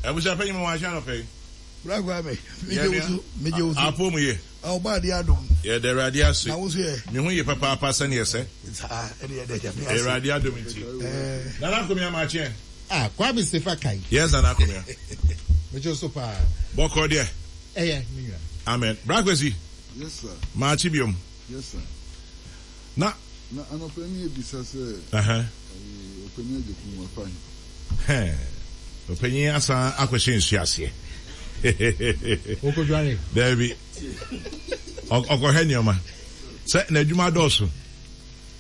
Abusua panyin mo ahyɛ anɔpɛ yi. Bra Kwame, megye wo so, megye wo so. Apo mu ye. Ɔba ade adom. Yɛda Awurade ase. Na wo nso yɛ. Me ho ye papaapa sɛnea ɛsɛ. Saa, ɛne yɛda Nyame ase. Awurade adom nti. Nana Akomea makye ɛ. Ah, Kwame Sefa Kayi. Yes, Nana Akomea. Megye wo so paa. Bɔkɔ deɛ. Ɛyɛ, me nua. Amen. Bra Kwesi. Yes, sir. Makye biom. Yes, sir. Na. Na anɔpa yi ebisa sɛ. Ɛɛ ɔpanyin Agyekum wafa he? Hɛn, ɔpanyin asan akɔhyɛ nsu aseɛ. Okodware. Daabi. Ɔkɔhwɛ nneɛma. Sɛ n'adwuma dɔɔso.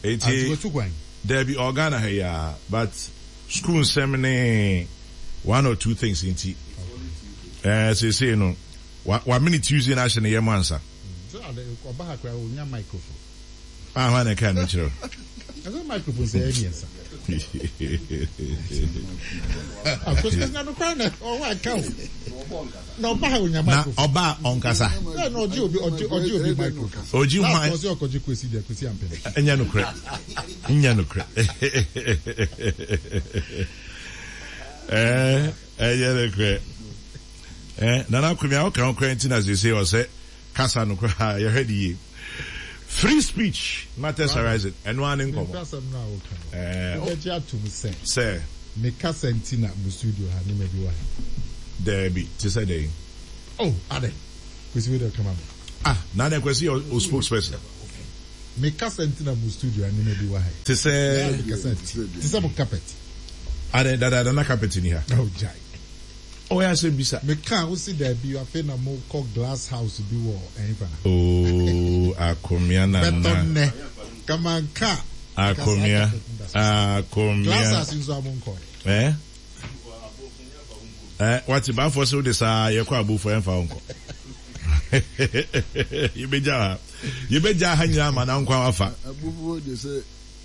Eti. Watu kwan. Daabi, ɔwɔ Ghana ha yi ara but school nsɛm ne one or two things nti. Ɛɛ seesei no, wamene Tuesday no ahyɛ ne yam ansa. Sɛ ɔba ha koraa ɔnya microphone. Ah, hwan na ɛka ɛno kyerɛ wo? Ɛsɛ microphone sɛ ɛyɛ mmiɛnsa. Akwesi na nokware na ɔwɔ aka o. Na ɔba ha onya microphone. Na ɔba ɔnkasa. Sɛ na ɔgye obi ɔgye ɔgye obi microphone. Ɔgye hwan? Last ɔsɛ ɔkɔgye Kwesi deɛ Kwesi ampene. Ɛnyɛ nokorɛ. Nyɛ nokorɛ. Ɛɛ ɛnyɛ nokorɛ. Ɛɛ Nana Akomea ɔka ho koraa nti na sese ɔsɛ Kasa no koraa yɛhwɛ no yie. Free speech matters arising ɛno ara ne nkɔmmɔ. Mempɛ asɛm no a woka no. Wobɛgye atom sɛ. Sɛ. Me kasa nti na mo studio ha nneɛma bi wɔ ha. Daabi, te sɛ dɛn? Oh, adɛn? Kwesi wei deɛ ɔka ma me. Ah, na adɛn Kwesi yɛ o spokesperson? Me kasa nti na mo studio ha nneɛma bi wɔ ha. Te sɛ. Me kasa nti. Te sɛ mo carpet. Adɛn, dadaada na carpet ni ha. Oh, gyae. Ɔyɛ asɛm bisa. Me kaa wo se daabi afei na mo kɔ glass house bi wɔ ɛhefa. Ooh Akomea nana. Bɛtɔ nnɛ kamanka. Akomea Akomea. Glass house nso a mo nkɔ. Eh eh wate bafoɔ se wode saa yɛkɔ abofoɔ ɛmfa wo nkɔ. Yɛbɛgya ha yɛbɛgya ha nyinaa ma na nkwa wafa. Abofoɔ de sɛ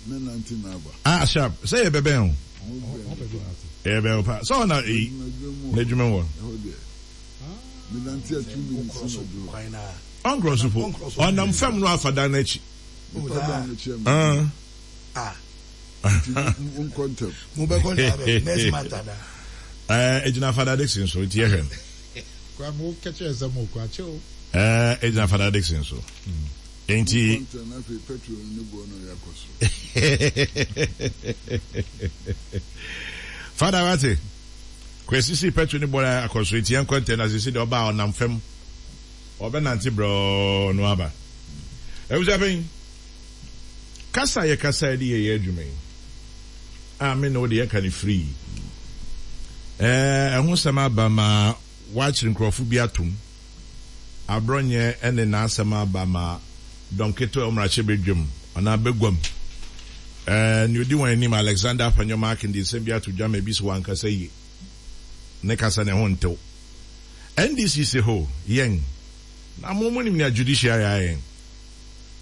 Mɛnante na aba. Ah sharp sɛ yɛ bɛbɛn o. Yɛ bɛn o pa sɛ ɔna eyi n'adwuma mu wɔ. Ɛhɔ deɛ menante a 2 minutes na duro. Ɔnkorɔ so po ɔnam fam no afa dan n'akyi. Nipa dan n'akyi ama. Ah. Nti mo nkɔ ntɛm. Mo bɛ kɔ ntɛm next month ana. Ɛɛ egyina Fada Dixon so nti yɛhwɛ no. Kwame wo kɛkyɛ sɛ mo kɔ akyɛ o. Ɛɛ egyina Fada Dixon so. Enti. Father wate, Kwesi si petrol ne boɔ no akɔ soro nti yɛnkɔ ntɛm na sisi deɛ ɔba a ɔnam fam ɔbɛnante brɛoo no aba. Abusuapanyin, kasa a yɛkasa de yɛ yɛn adwuma yi a me ne wo de yɛka no free ɛɛ ɛho sɛm aba ma wɔakyere nkurɔfo bi atom. Aborɔnyɛ ne n'asɛm aba ma dɔm ketewa a ɛwɔ mmarahyɛbadwam anaa baguam. Nea odi wɔn anim, Alexander Afenyo-Markin de nsɛm bi ato dwa ma ebi sɛ wankasa yie, ne kasa no ɛho ntew. NDC se ho, yɛn, na mo monim nea judiciary ayɛ yɛn.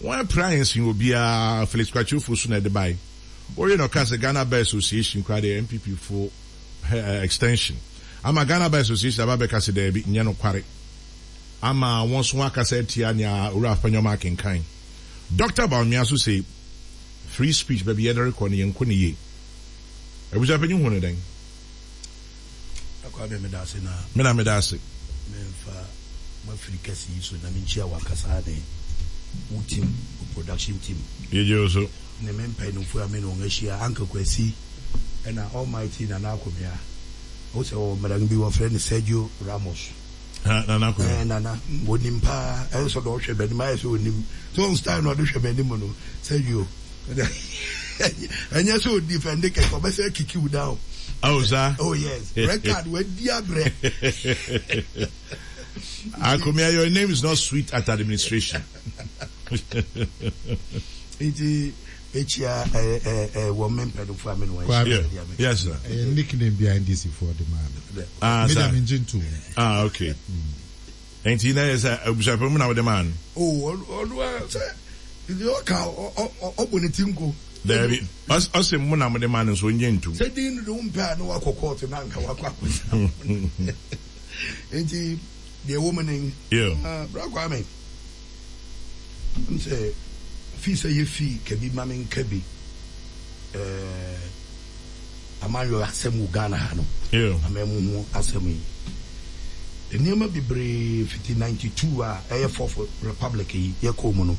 Wɔapira yɛn sen obiara, Felix Kwakye Ofosu na ɛde bae. Wowie na ɔkaa sɛ Ghana Bar Association koraa deɛ NPP fo extension ama Ghana Bar Association aba abɛka sɛ daabi, nyɛ nokware ama wɔn nso wɔakasa atia nea Owura Afenyo-Mark akenkan. Dɔkta Bawumia nso se free speech baabi yɛde rekɔ no yɛnkɔ no yie. Abusuapanyin hu no dɛn? Kwame meda ase na. Me na meda ase. Memfa m'afiri kɛse yi so na menkyia w'ankasa ne wo team, wo production team. Yegye wo so. Ne me mpanyinfo a me ne wɔn ahyia, Uncle Kwasi ɛna Almighty Nana Akomea. Wohu sɛ ɔwɔ mmeran bi wɔfrɛ no Sergio Ramos. Ha, Nana Akomea. Ɛɛ Nana, onim paa. Ɛyɛ sɛ ɔde ɔhwɛ m'anim ayɛ sɛ onim. So wɔn style na ɔde hwɛ m'anim no, Sergio. Ɛnyɛ sɛ odi fɛnde kɛkɛ, ɔbɛsɛ kiki wo down. Oh, saa? Oh yes, red card wadi abrɛ. Akomea, your name is not sweet at administration. Nti mekyia wɔ me mpanyinfoɔ a me ne wɔn ahyia sɛdeɛ me. Yes sir. Ɛyɛ nickname bi a NDC foɔ de maa me. Ah Me sir. deɛ mengye ntom. Ah okay. Nti na yɛ sɛ abusuapɛn mu na wode maa no. Oh ɔno a sɛ deɛ ɔka ɔbɔ ne ti nko. Daabi ɔse mo na mode maa no nso ɔngye ntom. Sɛ din no de wompɛ a na wakɔ kɔɔto na anka wakɔ akɔgyina. Nti deɛ ɛwɔ mu ne. Yeah. Bra Kwame. Wonim sɛ fii sɛ yɛ fii ka bi ma me nka bi eh. Amanyɔ asɛm wɔ Ghana ha no, amanmu ho asɛm yi. Nneɛma bebree fiti 92 a ɛyɛ Fourth Republic yi yɛkɔɔ mu no,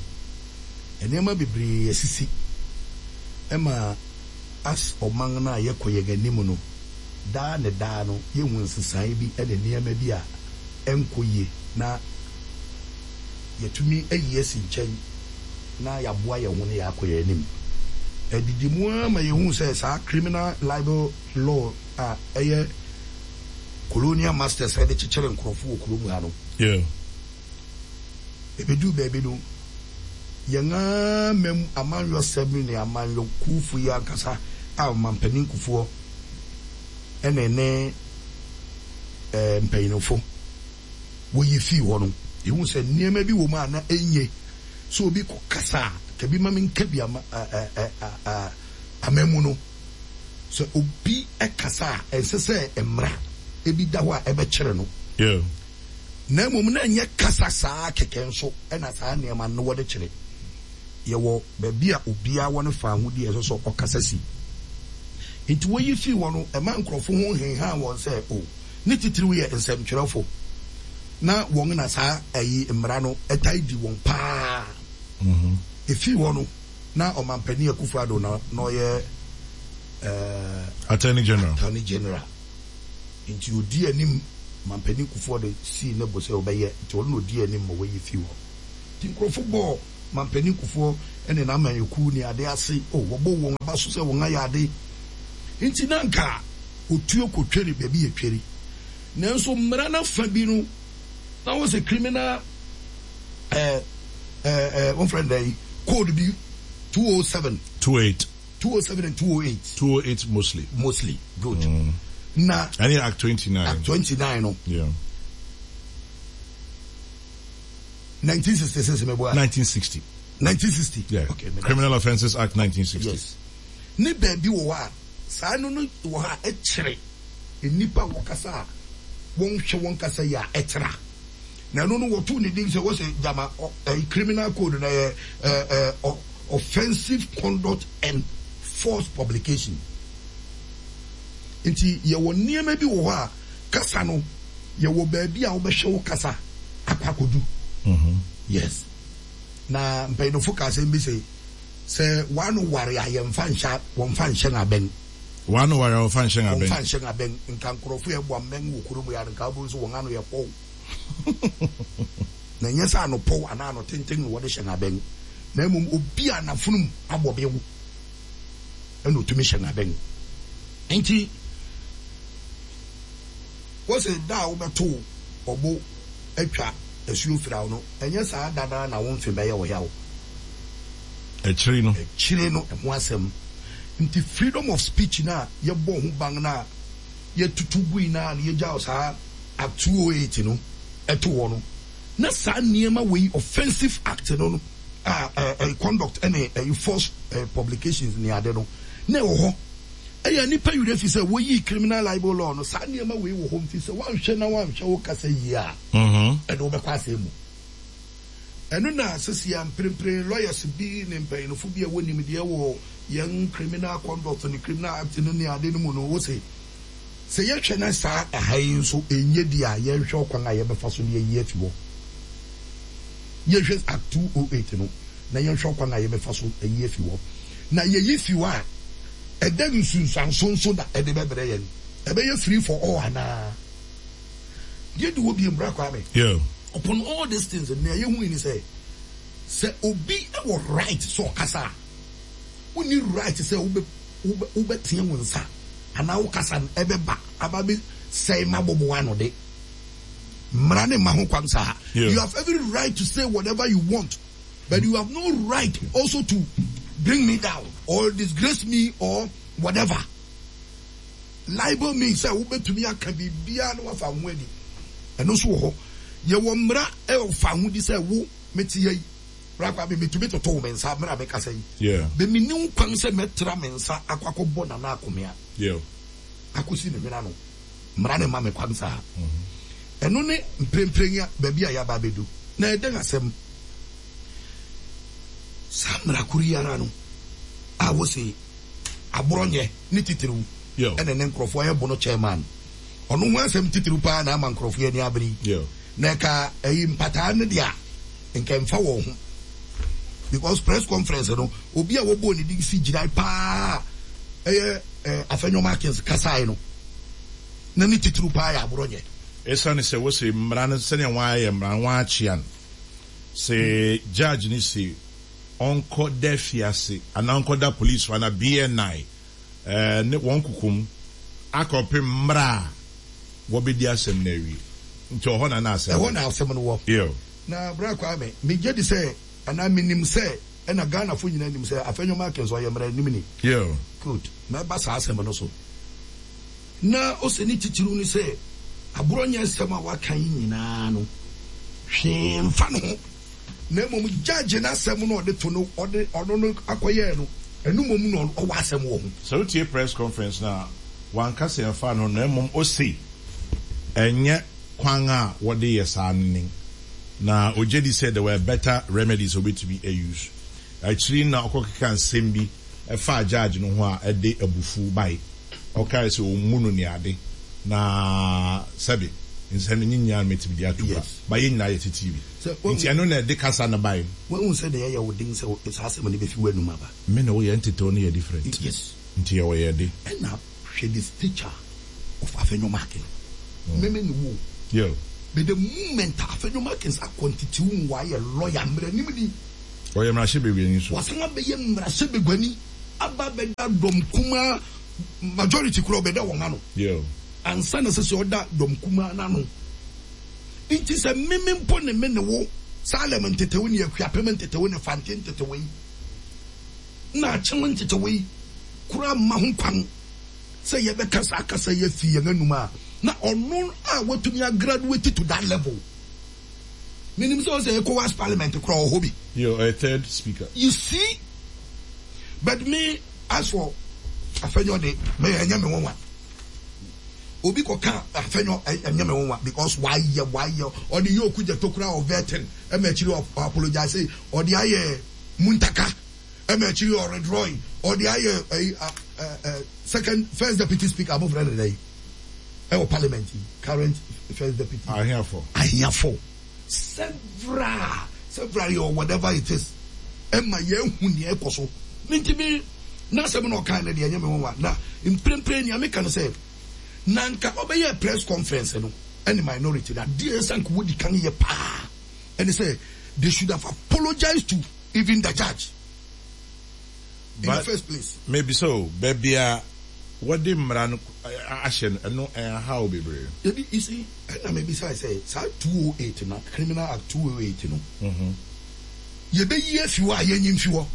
nneɛma bebree asisi ma as ɔman no a yɛkɔ yɛn anim no, daa ne daa no yɛhu nsesaeɛ bi ne nneɛma bi a ɛnkɔ yie na yɛatumi ayi asi nkyɛn na yɛaboa yɛn ho na yɛakɔ yɛn anim. Ɛdidi mu ara ma yɛhuu sɛ saa criminal libel law a ɛyɛ colonial masters de kyekyere nkurɔfo wɔ kurom ha no, ɛbɛduu baabi no, yɛn ara mam amanyɔsɛm ne amanyɔkuofo yi ankasa a Ɔmampanin Kufuor ne ne mpanyinfo woyi fii hɔ no, yehuu sɛ nneɛma bi wɔ mu a na enye sɛ obi kɔkasa a, ka bi ma menka bi ama amammu no. Sɛ obi kasa a, ɛnsɛ sɛ mmara bi da hɔ a ɛbɛkyere no. Na mmom na ɛnyɛ kasa saa kɛkɛ nso na saa nneɛma no wɔde kyere. Yɛwɔ baabi a obiara wɔ ne fawohodie a ɛsɛ sɛ ɔkasa si. Enti woyi fii hɔ no, ɛma nkurɔfo ho henhan wɔn sɛ, O, ne titiriw yɛ nsɛmtwerɛfo, na wɔn na saa ayi mmara no taa di wɔn paa. Efii hɔ no, na Ɔmanpanin Akufo-Addo na na ɔyɛ Attorney General. Attorney General. Nti odii anim, Ɔmanpanin Kufuor de sii ne bo sɛ ɔbɛyɛ, nti ɔno na odii anim ma wɔyi fii hɔ. Nti nkurɔfo bɔɔ Mampanin Kufuor ne n'amanyɔkuw ne ade ase, oh, wɔbɔɔ wɔn aba so sɛ wɔn ayɛ ade. Nti na anka otuo kotweri baabi yɛ tweri. Nanso mmara no afa bi no, na wɔsɛ criminal eh, eh, eh, wɔmfrɛ no dɛn, code bi, 207. 28. 207 and 208. 208 mostly. Mostly, good. Na. Ɛne Act 29. Act 29 no. Yeah. 1966 meboa. 1960. 1960. Yeah. Okay. Criminal Offences Act 1960. Yes. Ne baabi wɔ hɔ a saa no no wɔ hɔ a ɛkyerɛ nnipa a wɔkasa a wɔnhwɛ wɔn kasa yi a ɛtra. Na ɛno no wɔtoo ne din sɛ wɔsɛ gyama ɛyi criminal code na yɛ ɛɛ ɛɛ offensive conduct and false publication. Nti yɛwɔ nneɛma bi wɔ hɔ a kasa no yɛwɔ baabi a wobɛhwɛ wo kasa akɔ akɔdu. Yes. Na mpanyinfo ka asɛm bi sɛ, sɛ w'ano ware a yɛmfa nhyɛ wɔmfa nhyɛ no abɛn. W'ano ware a wɔmfa nhyɛ no abɛn. Wɔmfa nhyɛ no abɛn. Nka nkurɔfo a ɛbɔ abɛn wɔ kurom yɛ a nka wobɛhu sɛ wɔn ano yɛ pɔw. Na ɛnyɛ sɛ ano pɔw anaa ano tenten na wɔde hyɛ no abɛn, na mmom obi a n'afonom abɔ bew na otumi hyɛ no abɛn. Enti Wose da a wobɛtow ɔbo atwa asuo firaw no, ɛnyɛ saa da no ara na wo mfe bɛyɛ wo yaw. Akyiri no. Akyire no, ɛho asɛm. Nti freedom of speech no a yɛbɔɔ ho ban no a yɛtutu gui no a na yɛgyaw saa Act 208 no too hɔ no, na saa nneɛma wei, offensive act no no a ɛɛ conduct ne ɛyi false publications ne ade no, na ɛwɔ hɔ. Ɛyɛ a nnipa werɛ fi sɛ woyii criminal libel law no, saa nneɛma wei wɔ hɔ nti sɛ woanhwɛ na woanhwɛ wo kasa yie a, ɛde wo bɛkɔ asɛe mu. Ɛno na seesei a mprempren lawyers bi ne mpanyinfo bi a ɛwɔ nimdeɛ wɔ yɛn criminal conduct ne criminal act no ne ade no mu no wose sɛ yɛhwɛ na saa ɛha yi nso ɛnyɛ di a yɛnhwɛ ɔkwan a yɛbɛfa so de ayi afi hɔ. Yɛnhwɛ Act 208 no na yɛnhwɛ ɔkwan a yɛbɛfa so ayi afi hɔ. Na yɛyi fi hɔ a, ɛdɛn nsunsuanso nso na ɛde bɛbrɛ yɛn? Ɛbɛyɛ free for all anaa? Deɛ di hɔ bio, Bra Kwame, Yeah. upon all these things, nea yɛhui ne sɛ, sɛ obi wɔ right sɛ ɔkasa a, wonni right sɛ wobɛ, wobɛ, wobɛteɛ wo nsa anaa wo kasa no ɛbɛba aba abɛsɛe m'abobow ano de. Mmara no mma ho kwan saa. Yeah. You have every right to say whatever you want. But you have no right also to bring me down or disgrace me or whatever. Libel me sɛ wobɛtumi aka biribiara na wafa ho adi. Ɛno nso wɔ hɔ. Yɛwɔ mmara ɛfa ho di sɛ wo mete ha yi. Bra kwa me metumi toto wo me nsa mmerɛ a mekasa yi. Yeah. Bɛ menni wo kwan sɛ mɛtra me nsa akɔ akɔbɔ Nana Akomea. Yeah. Akɔsi ne hwene ano. Mmara no mma me kwan saa. Ɛno ne mprempren a baabi a yɛaba abedu. Na ɛdɛn asɛm? Saa mmara koro yi ara no a wose aborɔnyɛ ne titiriw. Ɛna ne nkurɔfoɔ yɛ bono chairman. Ɔno ho asɛm titiriw paa na ama nkurɔfoɔ ani abere yi. Na ɛka ɛyi mpataa no deɛ a, nka ɛmfa wɔn ho. Because press conference no, obi a wɔbɔɔ ne din si gyinae paa ɛyɛ eh, Afenyo Markins kasae no, na ne titiriw paa yɛ Aborɔnyɛ. Esiane sɛ wose mmara no sɛnea wɔayɛ mmara no wɔakyea no, se judge no se ɔnkɔ da afiase anaa ɔnkɔ da polisifo anaa BNI ne wɔn kokom akɔpem mmara a wɔbedi asɛm no awie. Nti ɔhɔ na na asɛm no Ɛhɔ na asɛm no wɔ. Ew. Na Bra Kwame, megye di sɛ anaa menim sɛ ɛna Ghanafo nyinaa nim sɛ Afenyo Markins ɔyɛ mmaranimni. Ew. Good. Mɛba saa asɛm no so. Na ose ne titiriw ne sɛ aborɔnyɛ nsɛm a waka yi nyinaa no, hwee mfa ne ho, na mmom judge no asɛm no a ɔde to no, ɔde ɔno no akɔyɛɛ no, ɛno mmom na ɔwɔ asɛm wɔ ho. Sɛ wotie press conference no a, wanka sɛ ɛmfa ne ho na mmom ose ɛnyɛ kwan a wɔde yɛ saa no nen, na ogye di sɛ there were better remedies a obetumi a use. Akyiri no na ɔkɔkeka nsɛm bi faa judge no ho a ɛde abufuw bae. Ɔkae sɛ ommu no ne ade, na sɛbe nsɛm no nye nyinaa na metumi de ato gua, but yɛn nyinaa yɛte TV nti ɛno na ɛde kasa no bae. Woahu sɛdeɛ ɛyɛ wo den sɛ saa asɛm no bɛfi w'anum aba? Me ne wo yɛn nteteww no yɛ different. Yes. Nti yɛwɔ yɛn de. Ɛna hwɛ the stature of Afenyo Markin. Me me ne wo o. Yeah. But the moment a Afenyo Markins akɔ nteteww mu wayɛ lawyer, mmaranimni. Ɔyɛ mmarahyɛbaguani nso. Wasan abɛyɛ mmarahyɛbaguani aba abɛda dɔm kumaa majority koraa ɔbɛda wɔn ano. Ansa na ɛsɛ sɛ ɔda dɔm kumaa no ano. Nti sɛ meme mpo ne me ne wo Salem ntetew ne Akuapem ntetew ne Fante ntetew yi na Akyem ntetew yi koraa mma ho kwan sɛ yɛbɛka saa kasa yi afi yɛn anum a, na ɔno a watumi agraduate to that level. Menim sɛ ɔsɛ ECOWAS parliament koraa ɔwɔ hɔ bi. Yeah, ɔyɛ third speaker. You see? But me as for Afenyo de, me ɛnyɛ me nwanwa. Obi kɔ ka Afenyo ɛnyɛ me nwanwa because wayɛ wayɛ ɔde yɛ Okudzeto koraa ɔvɛtin ɛma akyiri ɔ apologize ɔde ayɛ Muntaka ɛma akyiri ɔredrɔi ɔde ayɛ ɛyi ɛ second first deputy speaker abofra ne dɛ yi. ɛwɔ parliament yi current first deputy. Ahiafo. Ahiafo several several or whatever it is ɛma yɛn hu nea ɛkɔ so ne nti mi n'asɛm na ɔkan no deɛ ɛnyɛ mi nwanwa na mprempren nea meka no sɛ na nka ɔbɛyɛ press conference no ɛne minority na adeɛ ɛsɛ nka wodi kan yɛ paa ɛne sɛ they should have apologized to even the judge. in the first place. Mebisa o, baabi a wɔde mmara no ahyɛ no, ɛno ɛnhaw bebree? Dabi, you see, ɛna mebisae sɛ saa 208 no, Criminal Act 208 no, yɛbɛyi afi hɔ a yɛnyi mfi hɔ,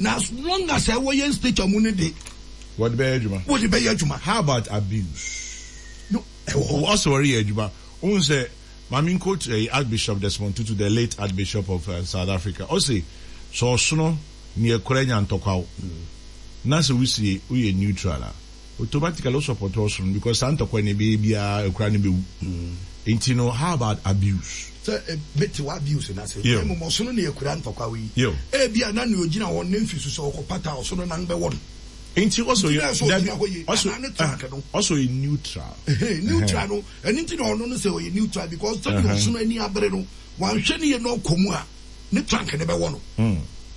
na as long as ɛwɔ yɛn stature mu no de, Wɔde bɛyɛ adwuma. Wɔde bɛyɛ adwuma. How about abuse? No, ɛwɔ hɔ. Ɔsɛ wɔreyɛ adwuma. Wohu sɛ, Maame nquote ɛyi Archbishop Desmond Tutu, the late Archbishop of South Africa, ɔse sɛ ɔsono Neɛ kora nya ntɔkwaw na sɛ wosie woyɛ neutral a automatically wo support ɔsono because saa ntɔkwa no ɛbɛyɛ biaa akura no bɛwu nti no how about abuse. Sɛ mete w'abuse no ase na mmom ɔsono na akura ntɔkwaw yi ebia na nea ogyina hɔ no ne mfe su sɛ ɔkɔpata a ɔsono nan bɛwɔ no Nti ɔsɛ nti na ɛsɛ ogyina hɔ yie anaa ne truck no. Ɔsɛ ɔyɛ neutral. Neutral no ɛno nti na ɔno no sɛ ɔyɛ neutral because sɛdeɛ ɔsono ani abere no wanhwɛ no yie na ɔkɔ mu a ne trunk no bɛwɔ no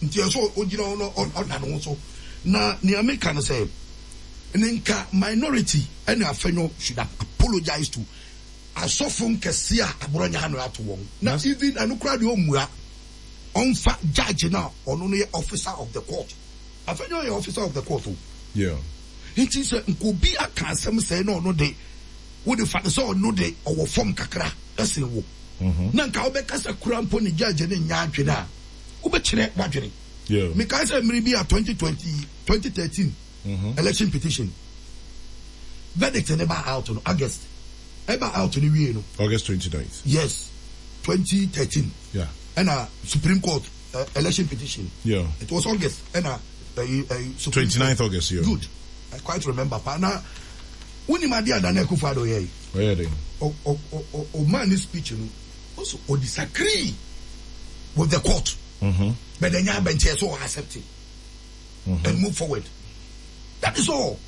nti ɛsɛ ɔgyina hɔ na ɔda ne ho so na nea meka no sɛ ne nka minority ɛne afɛnyɔ should have apologized to asɔfo nkɛse a aborɔnya ano ato wɔn na even ɛno koraa deɛ ɔmmua ɔmfa judge no a ɔno no yɛ officer of the court afɛnyɔ yɛ officer of the court o nti sɛ nka obi aka asɛm sɛɛ na ɔno de wode fa no sɛ ɔno de ɔwɔ fam kakra ɛsen wo na nka wobɛkasa kura mpo ne judge no nyɛ adwene a, wobɛkyerɛ w'adwene. Mekae sɛ mmere bi a 2020, 2013 election petition verdict no ba out no, August, ɛba out no wiei no. August 29th. Yes, 2013. Yeah. Ɛna Supreme Court uh, election petition. Yeah. It was August. Ɛna uh, uh, Supreme 29th Court. August, yeah. Good. I quite remember. Pa na Wonim adeɛ a Nana Akufo Addo yɛe? Ɔyɛɛ dɛn? Ɔ ɔ ɔ ɔmaa ne speech no, ɔsɛ ɔ disagree with the court. But ɛnyɛ abɛnkyɛ sɛ ɔ accept and move forward. That is all.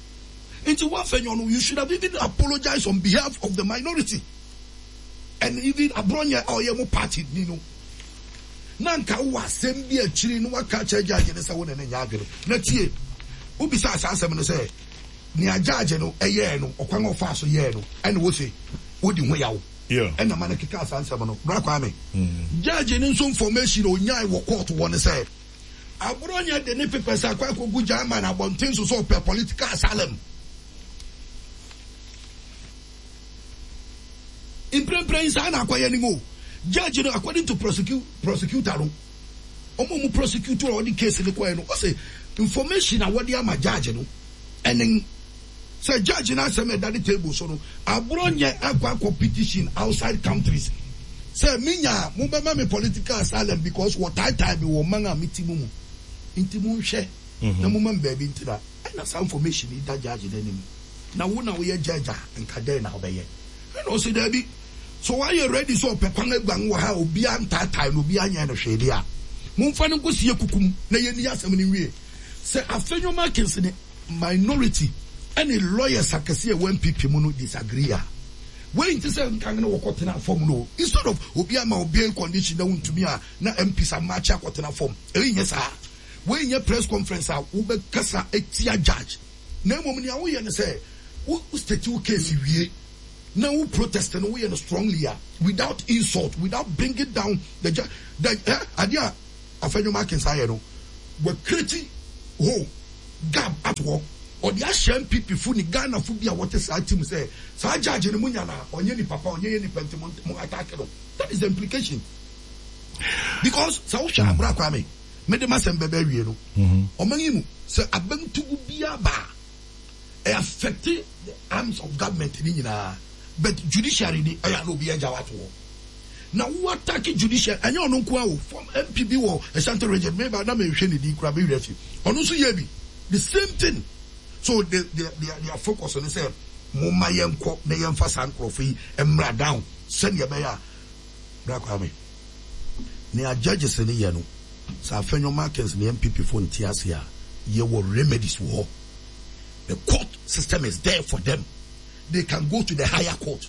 Nti wo Afenyo no you should have even apologized on behalf of the minority and even Abronye a ɔyɛ mo party ni no. Na nka wowɔ asɛm bi akyiri na waka akyerɛ judge no sɛ wo ne no nyɛ adwene. Na tie, wobisaa saa asɛm no sɛ nea judge no yɛɛ no, ɔkwan a ɔfaa so yɛɛ no ɛna wose wodi ho yaw ɛna ma no kekaa saa nsɛm no. Bra Kwame, judge no nso information a onyae wɔ court hɔ ne sɛ Abronye de ne papers akɔ akɔgu German abɔnten so sɛ ɔpɛ political asylum. Mprempren saa na akɔyɛ no o. Judge no according to prosecutor no, wɔn a wɔn prosecute a wɔde case no kɔɛ no, ɔsɛ information a wɔde ama judge no ɛne sɛ judge no asɛm a ɛda ne table so no, Abronye akɔ akɔ petition outside countries sɛ menya a mobɛma me political asylum because wɔtaataa me wɔ man a mete mu mu nti monhwɛ na momma me baabi ntena. Ɛna saa information yi da judge no anim. Na wo na woyɛ judge a nka dɛn na wobɛyɛ? Ɛna ɔse daabi, sɛ wayɛ ready sɛ ɔpɛ kwan aguan wɔ ha a obiara ntaatae no, obiara nyɛɛ no hwee deɛ a, momfa no nkɔsie kuku mu na yɛnni asɛm no nwie. Sɛ Afenyo Markins ne minority ne lawyers akɛseɛ a ɛwɔ NPP mu no disagree a, wei nte sɛ nkan no wɔkɔtenaa fam no o. Instead of obi ama wo bail condition na wontumi a na MPs amakye akɔtena fam, ɛyi nyɛ saa. Wei nyɛ press conference a wobɛkasa atia judge. Na mmom nea woyɛ ne sɛ wo state wo case wie na wo protest no woyɛ no strongly a without insult, without bringing down the judge. The eh, adeɛ a Afenyo Markins ayɛ no, wa create hole, gap ato hɔ. Ɔde ahyɛ NPP fo ne Ghana fo bi a wɔte saa team sɛ saa judge no mo nya no a ɔnyɛ nipa pa, ɔnyɛ yɛ nipa nti mo mo attack no. That is the implication. Because sɛ wohwɛ abra Kwame, mede m'asɛm bɛba awie no, ɔman yi mu, sɛ abamtugu biara ba a, ɛ affect the arms of government ne nyinaa, but judiciary de, ɛyɛ a na obiara agyaw ato hɔ. Na wo attack judiciary, ɛnyɛ ɔno nko ara o, form MP bi wɔ Ashanti region, me ba na menhwɛ ne din koraa, me werɛ afi, ɔno nso yɛɛ bi, the same thing. So the, the, their, their focus ne sɛ, momma yɛnkɔ na yɛmfa saa nkurɔfo yi mmra down sɛnea ɛbɛyɛ a, Bra Kwame, nea judges no yɛ no, sɛ Afenyo Markins ne NPP fo nte ase a, yɛwɔ remedies wɔ hɔ. The court system is there for them. They can go to the higher court.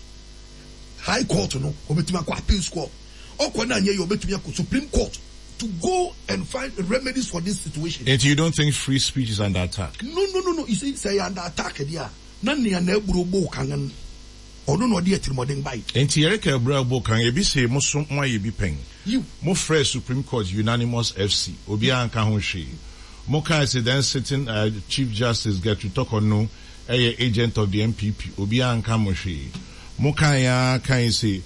High court no, wɔbɛtumi akɔ appeals court. Ɔkɔ no anyɛ yie, wɔbɛtumi akɔ Supreme Court to go and find remedies for this situation. Nti you don't think free speech is under attack? No, no, no, no. You see, sɛ ɛyɛ under attack deɛ a, na nea n'aburo bɔ kan no, Ɔno na ɔde atirimuɔden bae. Enti yɛreka abura bo kan, ebi se mo so moayɛ bi pɛn. Yiw. Mo frɛɛ Supreme Court unanimous FC, obiara anka ho hwee. Mo kae se then sitting Chief Justice Gertrude Torkornoo yɛ agent of the NPP, obiara anka mo hwee. Mo kae ara kae se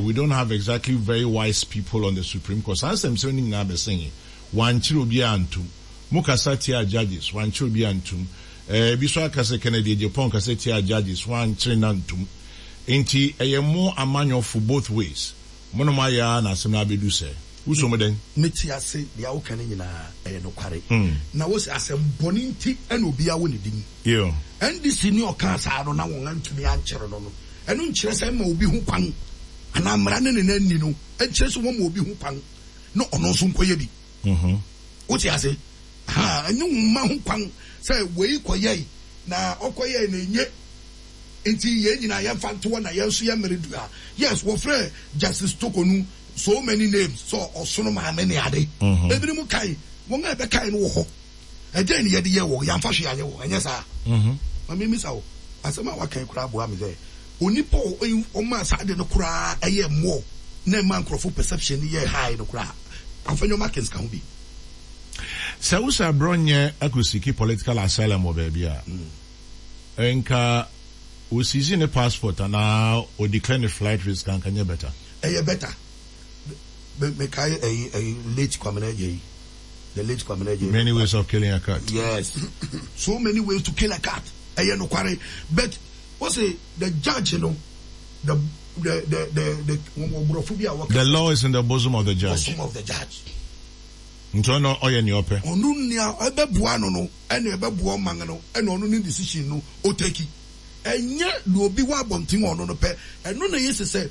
we don't have exactly very wise people on the Supreme Court. Saa nsɛmsɛm no nyinaa bɛsɛn Wɔankyere obiara antom. Mo kasa tiaa judges, wɔankyere obiara antom. Eh, ebi nso aka sɛ Kennedy Agyapong kasa tiaa judges, wɔankyere no antom. Enti ɛyɛ mo amanyɔfo both ways. Mo na moayɛ ara na asɛm no abedu sɛɛ. Wuso mu dɛn? Mete ase, deɛ woka no nyinaa ɛyɛ nokware. Na wose asɛm bɔne nti na obiara wɔ ne din. NDC ni ɔkaa saa no na wɔn antumi ankyere no no, ɛno nkyerɛ sɛ ɛma obi ho kwan anaa mmara ne ne no anni no nkyerɛ sɛ wɔma obi ho kwan na ɔno nso nkɔyɛ bi. Wote ase? Ha, ɛnyɛ wo mma ho kwan sɛ wei kɔyɛe na ɔkɔyɛe na enye nti yɛn nyinaa yɛmfa nto hɔ na yɛn nso yɛn mmere du a. Yes, wɔfrɛ Justice Torkornoo so many names sɛ ɔsono maame ne ade. Ebinom kae, wɔn a ɛbɛkae no wɔ hɔ. Ɛdɛn na yɛde yɛɛ wɔn? Yɛamfa hwee anyɛ wɔn, ɛnyɛ saa? Ma mimmisa wo, asɛm a woaka yi koraa boa me sɛ onipa a ɔmaa saa ade no koraa yɛɛ more na ɛmaa nkurɔfo perception no yɛɛ high no koraa, Afenyo Markins ka ho bi. Sɛ wo sɛ abrɔnyɛ akosiki political asylum wɔ baabi a, nka o seize ne passport anaa o declare ne flight risk anka nyɛ better? Ɛyɛ better. Me mekae ɛyi ɛyi late Kwamina Adjei. The late Kwamina Adjei. Many ways of killing a cat. Yes. So many ways to kill a cat. Ɛyɛ nokware. But wose the judge no the the the the the wɔn borɔfo bi a wɔka. The law is in the bosom of the judge. Bosom of the judge. Nti ɔno ɔyɛ nea ɔpɛ. Ɔno nea ɛbɛboa no no ɛna ɛbɛboa ɔman no ɛna ɔno ne decision no ɔtaki. Ɛnyɛ nea obi wɔ abɔnten wɔ ɔno no pɛ. Ɛno na eye sɛ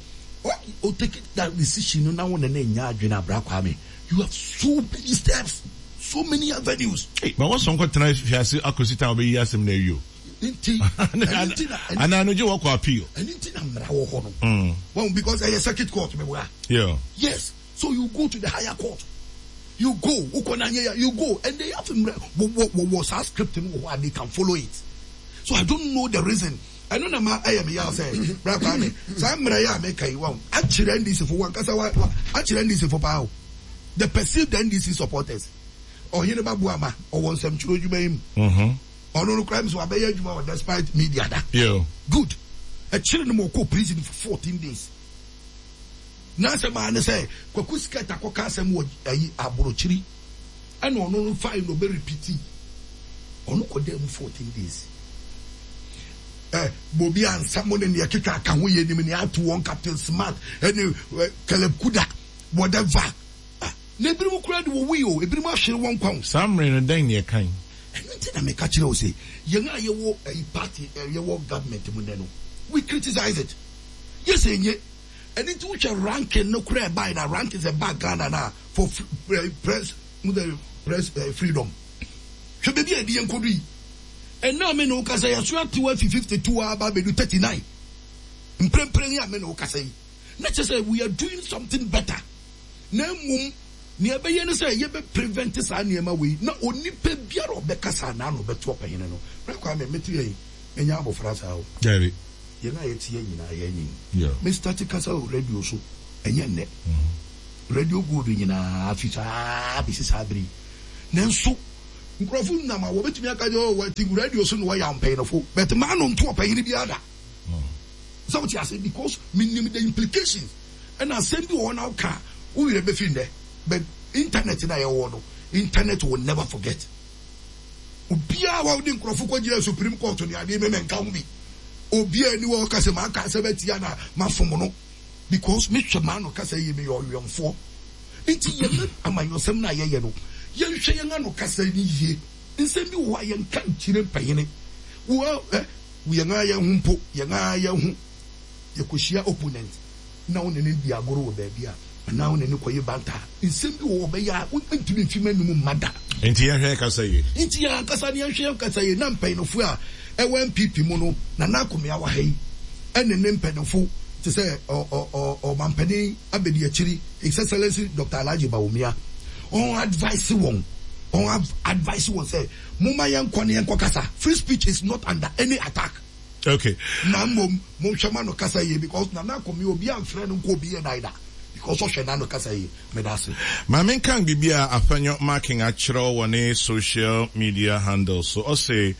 ɔ take that decision no na wo ne no nyɛ adwene a Bra Kwame you have so many steps, so many avenues. Ei, ma wɔsɔ nkɔtena afiase akɔsi time a wɔbɛyi asɛm no awie o. Nti ɛno nti na anaa no gye wɔkɔ appeal. Ɛno nti na mmara wɔ hɔ no. Wɔn because ɛyɛ circuit court mi wura. Yeah. Yes so you go to the higher court you go wokɔ na anyɛ ya you go and they have mmara wɔ wɔ wɔ saa script no wɔ hɔ a they can follow it so I don't know the reason ɛno na ma ɛyɛ me yaw sɛ bra Kwame saa mmara yi a meka yi wɔn akyerɛ NDC fo wɔn ankasa wa akyerɛ NDC fo paa o the perceived NDC supporters ɔhene ba Boama ɔwɔ nsɛmtwerɛ adwuma yi mu. Ɔno no koraa mi sɛ wabɛyɛ adwuma wɔ despite media da. Good. Ɛkyere no ma ɔkɔɔ prison for 14 days. N'asɛm ara ne sɛ Kwaku Skirt akɔka asɛm wɔ ayi aborokyiri ɛna ɔno no fae na ɔbɛ repeati. Ɔno kɔdaa mu 14 days. Eh, Bobi ansa mo ne nea ɛkeka aka ho yɛ nim nea ato wɔn Captain Smart ɛne eh, Caleb Kuda whatever. Ah, na ebinom koraa de wɔwui o, ebinom ahwere wɔn nkwa o. Saa mmere no, dɛn na yɛkae? Ɛno nti na meka kyerɛ wo se, yɛn a yɛwɔ ɛyi party ɛ, yɛwɔ government mu nnɛ no, we criticize it. Yɛ sɛ enye. Ɛno nti wohwɛ ranking no koraa ɛbae na rankings ɛbaa Ghana no a, for press, mo sɛ press eh, freedom. Hwɛ baabi a yɛde yɛn kɔdu yi. Ɛnnɛ a me ne wo kasa yi, yɛaso atew afi 52 aba abɛdu 39. Mprempren yi a me ne wo kasa yi, na kyerɛ sɛ we are doing something better. Na mmom nea ɛbɛyɛ ne sɛ yɛbɛ prevent saa nneɛma wei na onipa biara a ɔbɛkasa anaa na ɔbɛto ɔpanyin no. Bra Kwame, mete ha yi, menyɛ abɔfra saa o. Dabi. Yɛn a yɛte ha nyinaa yɛanyin. Me start kasa wɔ radio so, ɛnyɛ nnɛ. Radio Gold nyinaa fi saa besi saa bere yi. Nanso nkurɔfo nam a wɔbɛtumi aka sɛ oh wɔte radio so na wɔyɛ mpanyinfo, but m'ano nto ɔpanyin biara da. Sɛ wote ase because menim the implications. Ɛna asɛm bi wɔ hɔ na woka a, wo werɛ bɛfi nnɛ but internet no a yɛwɔ no, internet will never forget. Obiara a wode nkurɔfo kɔgyina Supreme Court ne adeɛ me menka ho bi. Obiara ni hɔ a ɔka sɛ maka asɛm atia na mafom no because mehwɛ m'ano kasa yie, meyɛ ɔwɛmfoɔ. Nti yɛn amanyɔsɛm no a yɛyɛ no, yɛnhwɛ yɛn ano kasa no yie. Nsɛm bi wɔ hɔ a yɛnka nkyerɛ mpanyini. Wo ɛ, yɛn ara yɛn ho mpo, yɛn ara yɛn ho. Yɛkɔhyia opponent na wo ne no di agorɔ wɔ baabi a, anaa wo ne no kɔyɛ banter a, nsɛm bi wɔ hɔ a ɔbɛyɛ a wontumi mfi m'anom mma da. Nti yɛnhwɛ yɛn kasa yie. Nti yɛn ankasa no yɛnhwɛ yɛn kasa yie na mpanyinfoɔ a ɛwɔ NPP mu no, Nana Akomea wɔ ha yi ɛne ne mpanyinfo te sɛ ɔ ɔ ɔ ɔmampanin abadiakyiri His Excellency Doctor Alhaji Bawumia, ɔn advice wɔn, ɔn advice wɔn sɛ momma yɛnkɔ na yɛnkɔ kasa, free speech is not under any attack. Okay. Na mmom monhwɛ ma no kasa yie because Nana Akomea obi amfrɛ no nkɔ obi yɛ dan da because ɔhwɛ n'ano kasa yie. Meda ase. Ma menkan biribi a Afenyo Markin akyerɛw wɔ ne social media handle so. Ɔse,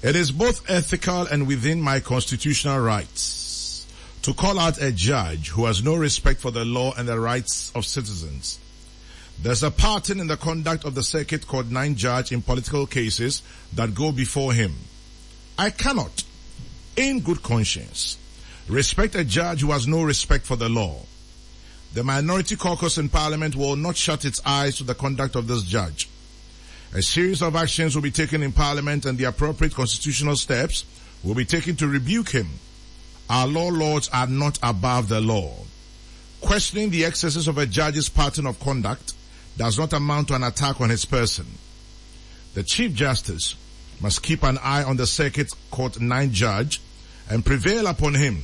It is both ethical and within my constitutional rights to call out a judge who has no respect for the law and the rights of citizens. There's a pattern in the conduct of the Circuit Court 9 judge in political cases that go before him. I cannot, in good conscience, respect a judge who has no respect for the law. The minority caucus in parliament will not shut its eyes to the conduct of this judge. A series of actions will be taken in parliament and the appropriate constitutional steps will be taken to rebuke him. Our law lords are not above the law. Questioning the excesses of a judge's pattern of conduct does not amount to an attack on his person. The Chief Justice must keep an eye on the Circuit Court 9 judge and prevail upon him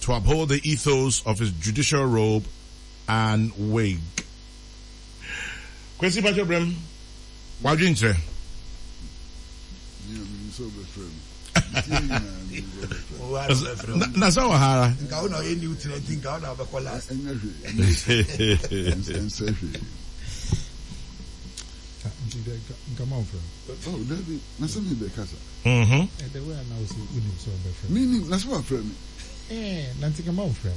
to uphold the ethos of his judicial robe and wig. Kwesi Pacho Brem, wadwenkyerɛ. Na sɛ wɔ ha ara. Nka wo na ɔyɛ new tena nti nka wo na wobɛkɔ last. Ɛnyɛ hwee. Ɛnsɛ hwee. Nti dɛ nka ma ɔmfrɛ wo. Oh dabi, na sɛ me bɛ kasa. Mhm. Eh the way a na wo se wonim sɛ ɔbɛfrɛ. Me nim, na sɛ wafrɛ me. Eh na nti nka ma ɔmfrɛ wo.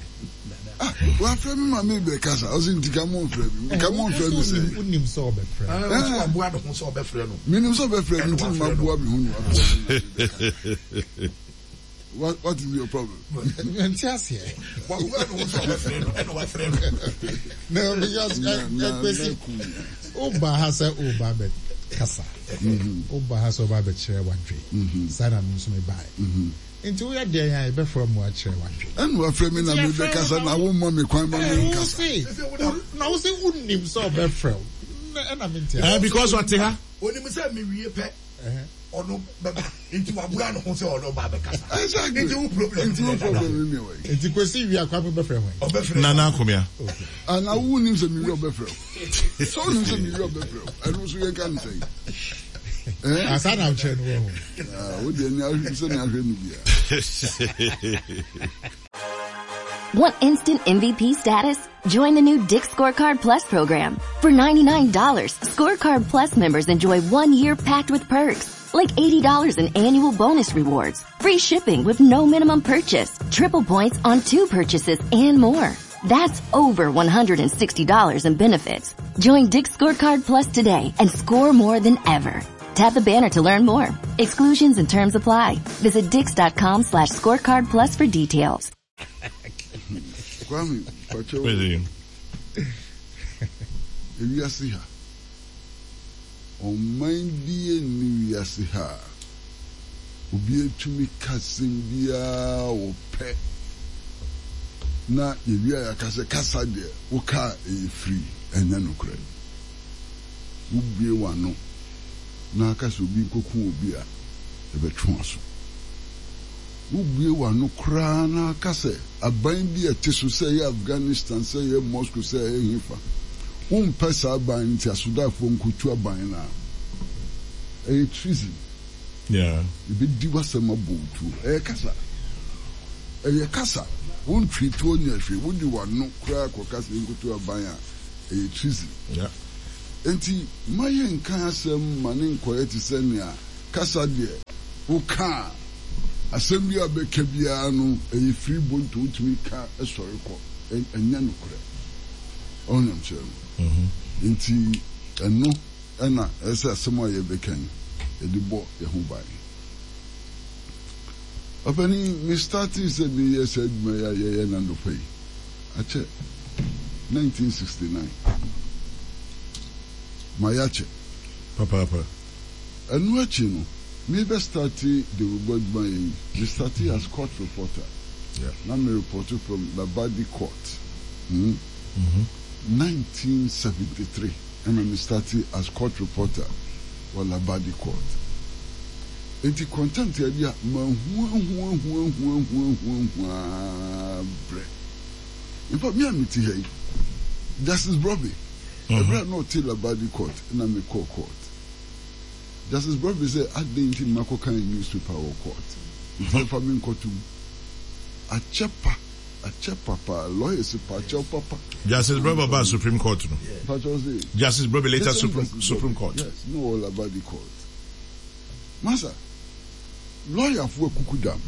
Ah wafrɛ me ma me bɛ kasa, ɔse nti ka mo nfrɛ me, nka mo nfrɛ me sɛ. Wonim sɛ ɔbɛfrɛ. Ah ɔse waboa ne ho sɛ ɔbɛfrɛ no. Me nim sɛ ɔbɛfrɛ me nti na maboa me ho na wafrɛ me ma me bɛ kasa. What what is your problem? Nti aseɛ. Waboa ne ho sɛ ɔbɛfrɛ no ɛna wafrɛ no. No because Kwesi woba ha sɛ woba bɛ kasa. Woba ha sɛ woba bɛkyerɛ wadwe. Saa na me nso me bae. Nti woyɛ dɛn a yɛbɛfrɛ mu akyerɛ wadwe. Ɛna wafrɛ me na me bɛ kasa na wo mma me kwan ma me nkasa. Na wo se wonim sɛ ɔbɛfrɛ wo. Ɛna me nti aseɛ. Because ɔte ha. Onim sɛ mewie pɛ. ɔno bɛba nti wabua ne ho sɛ ɔno ba abɛkasa. Exactly. Nti wo problem Nti wo problem ne wɔ yi. Nti Kwesi wie a Kwame bɛfrɛ hwan? Ɔbɛfrɛ Nana Akomea. Okay. Ana wo nim sɛ mewie ɔbɛfrɛ wo. Sɛ wo nim sɛ mewie ɔbɛfrɛ wo. Ɛno nso yɛnka ne sɛn? Eh? Asa na wokyerɛ no wɔ ho. Ah, wo deɛ ne ahwɛ sɛ ne ahwɛ no bia. Want instant MVP status? Join the new Dick's Scorecard Plus program. For $99, Scorecard Plus members enjoy one year packed with perks, like $80 in annual bonus rewards, free shipping with no minimum purchase, triple points on two purchases, and more. That's over $160 in benefits. Join Dick's Scorecard Plus today and score more than ever. Tap the banner to learn more. Exclusions and terms apply. Visit dicks.com slash scorecard plus for details. Kwame, pakyɛw ewiase ha, ɔman biara nni wiase ha a obiara tumi ka asɛm biara a ɔpɛ na yɛwie a yɛaka sɛ kasa deɛ woka a ɛyɛ free. Ɛnyɛ nokorɛ. Wobue w'ano na aka sɛ obi nkɔku obi a, yɛbɛtwe w'aso. Wobue w'ano koraa na aka sɛ aban bi a ɛte so, sɛ ɛyɛ Afghanistan, sɛ ɛyɛ Moscow, sɛ ɛyɛ hefa, wompɛ saa aban no nti asodaafoɔ nkɔtu aban no a, ɛyɛ treason. Yɛbɛdi w'asɛm abɔ wo tuo. Ɛyɛ kasa. Ɛyɛ kasa. Wontwee tuo nyɛ hwee. Wode w'ano koraa kɔka sɛ yɛnkɔtu aban a, ɛyɛ treason. Enti mma yɛnnka asɛm mma no nnkɔyɛ te sɛ nea kasa deɛ woka a, asɛm biara a wobɛka biara no ɛyɛ firi bonto, wotumi ka sɔre kɔ. Ɛnyɛ nokorɛ. Ɔho nea mekyerɛ no? Enti ɛno na ɛsɛ sɛ asɛm a yɛbɛka yi, yɛde bɔ yɛn ho ban. Ɔpanin, me startee sɛ meyɛ saa adwuma yi a yɛyɛ no anɔpa yi, akyɛ, 1969. Mayɛ akyɛ. Papaapa. Ɛno akyi no, me bɛ starte dawurubɔ adwuma yɛ yi, me startee as court reporter. Yeah. Na me reporte from Labadi court. Hmm. 1973 ɛna me startee as court reporter wɔ Labadi court. Enti contempt yɛ adeɛ a mahuahuahuahuahuahuahuaa brɛ. In fact, me a mete ha yi, Justice Brobbey, ɛberɛ a na ɔte Labadi court na mekɔɔ court. Justice Brobbey sɛ adɛn nti na makɔkan newspaper wɔ court, nti ɛmfa me nkɔto mu. Akyɛ pa, akyɛ pa paa, lawyers pa akyɛw papa. Justice Brobbey ɔbaa Supreme Court no. Mpakyɛw se. Justice Brobbey later Supreme, Supreme Court. Yes, na ɔwɔ Labadi court. Masa, lɔyafo akukudam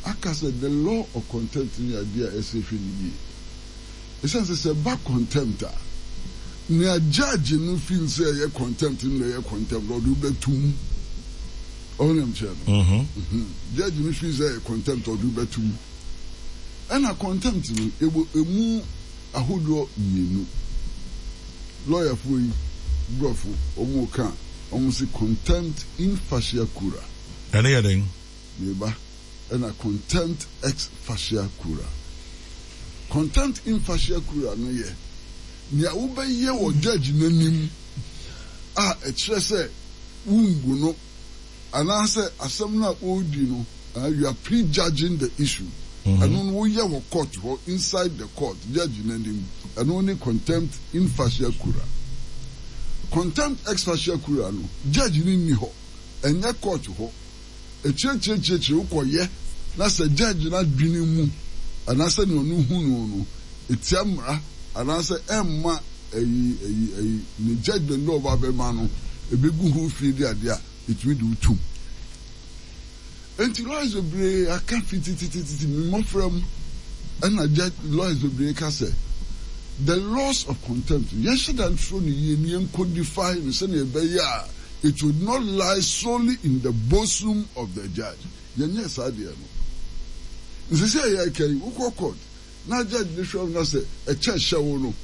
aka sɛ the law of contempt no yɛ ade a ɛsɛ yɛhwɛ no yie. Esiane sɛ sɛ ɛba contempt a, nea judge no feel sɛ ɛyɛ contempt no na ɛyɛ contempt, ɔde wo bɛto mu. Ɔho nea mekyerɛ no? Mm-hmm. Judge no feel sɛ ɛyɛ contempt, ɔde wo bɛto mu. Ɛna contempt no, yɛwɔ emu ahodoɔ mmienu. Lɔyafoɔ yi, brɔfo, wɔn ka a, wɔn se contempt in facie cura. Ɛno yɛ dɛn? Meba. Ɛna contempt ex facie cura. Contempt in facie cura no yɛ nea wobɛyɛ wɔ judge no anim a ɛkyerɛ sɛ wommu no anaasɛ asɛm no a ɔredi no, you are prejudging the issue. Ɛno no woyɛ wɔ court hɔ, inside the court, judge no anim. Ɛno ne contempt in facie cura. Contempt ex facie cura no, judge no nni hɔ, ɛnyɛ court hɔ. Akyiriakyiriakyiriakyiri wokɔyɛ na sɛ judge no adwene mu anaasɛ nea ɔno hu no no, ɛtia mmara anaasɛ ɛmma ayi ayi ayi ne judgement no a ɔba bɛma no ɛbɛgu ho fi de adeɛ a, ɛtumi de wo tom. Enti lawyers bebree aka fi titititi me mmɔfra mu ɛna judge lawyers bebree ka sɛ the laws of contempt yɛnhyɛ da ntwerɛ no yie na yɛn codify no sɛnea ɛbɛyɛ a it would not lie solely in the bosom of the judge. Yɛnyɛɛ saa deɛ no. Nsɛ sɛ yɛreka yi wokɔ court na judge no hwɛ wo na sɛ ɛkyɛ hyɛ wo no,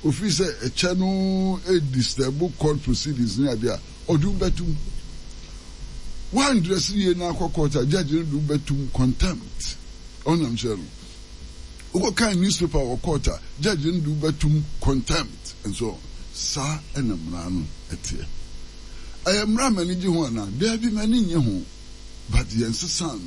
ofii sɛ ɛkyɛ no redisturb court proceedings ne adeɛ a, ɔde wo bɛtom. Woandrɛse yie na akɔ court a, judge no de wo bɛtom contempt. Ɔnam kyerɛ no. Wokɔkan newspaper wɔ court a, judge no de wo bɛtom contempt and so on. Saa na mmara no teɛ. Ɛyɛ mmara a m'ani gye ho anaa? Daabi, m'ani nnye ho. But yɛnsesaa no.